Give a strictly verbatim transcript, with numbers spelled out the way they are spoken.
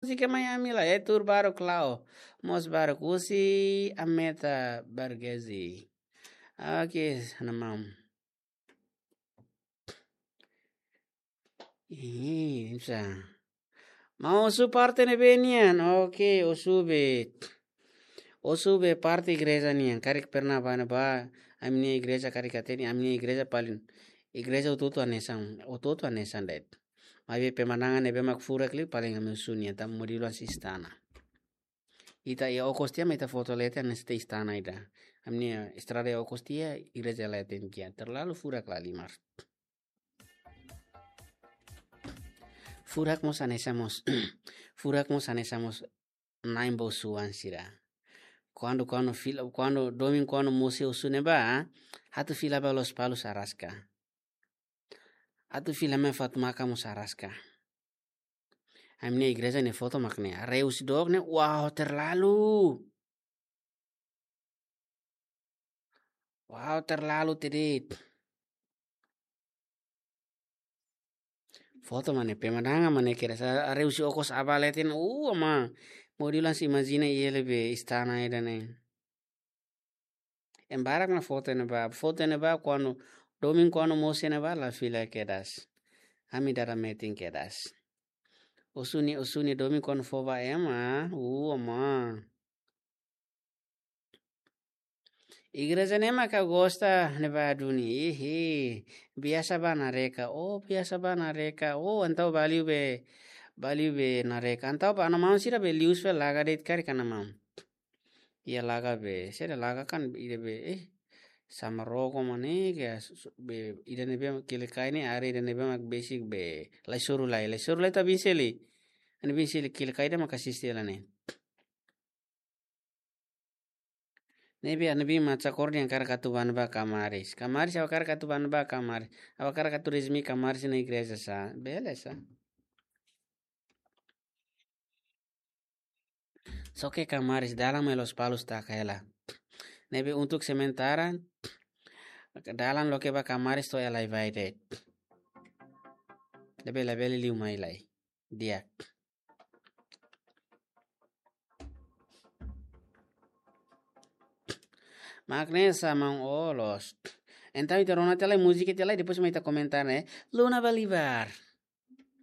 Múzika mai ami la, eh, tuur baruk la'o. Mós baruk husi Ameta Bargezi. Oke, sana maun. Ih, bisa. Maun Osu parte ne'ebé nian? Oke, Osu be. Osu be parte igreja nian. Karik pernah bá ne'ebá, ami-nia igreja karik hatene, ami-nia igreja paling, igreja hotu-hotu hanesan, hotu-hotu hanesan de'it. Maibé pemandangan ne'ebé mak furak liu paling ami Osu nian, tanba modelu hanesan istana. Ita iha okos tiha mak ita foto leten hanesan istana ida. Ami-nia estrada iha okos tiha, igreja leten tiha. Terlalu furak la Aymar. Furak mós hanesan mós. Furak mós hanesan mós na'in-boot suan sira. Kuandu, kuandu fila, kuandu domingu, kuandu mós iha Osu ne'ebá, atu fila ba Lospalos araska. Atu fila mai Fatumaka mós araska. Ami-nia igreja nia foto mak ne'e. Haree husi dook ne'e, wow, terlalu. Wow, terlalu tedit. Foto mak ne'e, pemandangan mak ne'e kedas. Haree husi okos aban leten, uh, ama. Modelu hanesan imajina iha ne'ebé istana ida-ne'e. Ema barak mak foto iha ne'ebá, foto iha ne'ebá kuandu domingu kuandu mós iha ne'ebá la fila kedas. Ami dada metin kedas. Osu nia, Osu nia domingu kuandu fó ba ema, uh, ama. Igreja ne'e mak ha'u gosta ne'ebá duni, ihi, biasa bá Nareka, oh, biasa bá Nareka, oh, entaun bá liu be, bá liu be Nareka, entaun bá Ana Maun sira be liu fali laga de'it karik Ana Maun. Iha laga be, sira laga kan ida be, eh, sama roko mak ne'e, ke su-, su-, be, ida ne'ebé mak kili kai ne'e, área ida ne'ebé mak besik be, lai soru lai, lai soru lai ita biin seli. Ita biin seli kili kai ida mak asiste hela ne'e. Ne'ebé, ne'ebé mak cakor dehan hakarak atu bá ne'ebá Kamaris. Kamaris, ha'u hakarak atu bá ne'ebá Kamaris. Ha'u hakarak atu rezimi Kamaris nia igreja sá. Bele sá. Só ke Kamaris, dalan mai Lospalos taka hela. Ne'ebé untuk sementara, dalan loke ba Kamaris to'o iha Laivae de'it. Ne'ebé labele liu mai lai. Di'ak. Mak ne'e sá maun Olos. Entaun ita rona tiha lai múzika tiha lai, depois mai ita komentar ne'e. Luna Balibar.